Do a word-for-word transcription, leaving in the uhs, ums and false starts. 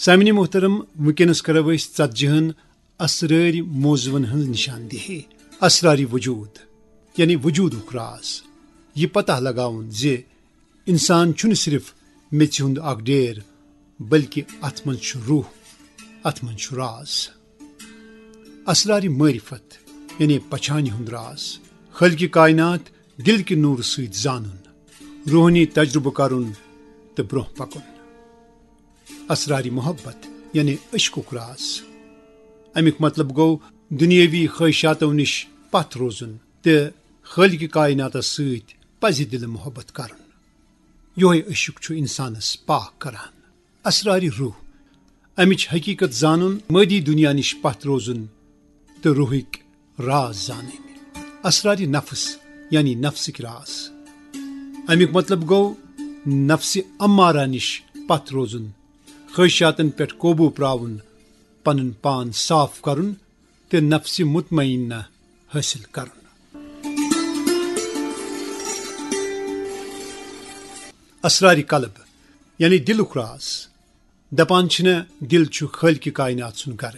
سامعین محترم، وٕنکیٚنَس کرو أسۍ ژتجی ہن اسرٲرۍ موضوعن ہٕنٛز نشاندہی۔ اسرارِ وجود، یعنی وجودُک راز۔ یہِ پتہ لگاوُن زِ انسان چھُنہٕ صرف میٚژِ ہُنٛد اکھ ڈیر، بلکہ اتھ منٛز چھُ روح، اتھ منٛز چھُ راز۔ اسرارِ معرفت، یعنی پچھانہِ ہُنٛد راز۔ خالقِ کائنات دل کہِ نورٕ سۭتۍ زانُن، روحٲنی تجربہٕ کرُن تہٕ برونٛہہ پکُن۔ اسرارِ محبت، یعنی عشقُک راز۔ امیُک مطلب گوٚو دنیاوی خواہشاتو نِش پتھ روزُن تہٕ خالقِ کائناتس سۭتۍ پزِ دلہٕ محبت کرُن۔ یۄہے عشق چھُ انسانس پاک کران۔ اسرارِ روح، امِچ حقیقت زانُن، مادی دنیا نِش پتھ روزُن تہٕ روحٕکۍ راز زانٕنۍ۔ اسرارِ نفس، یعنی نفسٕکۍ راز۔ امیُک مطلب گوٚو نفسِ امارہ نِش پتھ روزُن، خواہشاتن پٮ۪ٹھ قوبو پراوُن، پنُن پان صاف کرُن تہٕ نفسِ مطمئنہ حٲصِل کرُن۔ اسرارِ قلب، یعنی دلُک راز۔ دپان چھِنہ، دل چھُ خالقِ کائنات سُنٛد گرٕ۔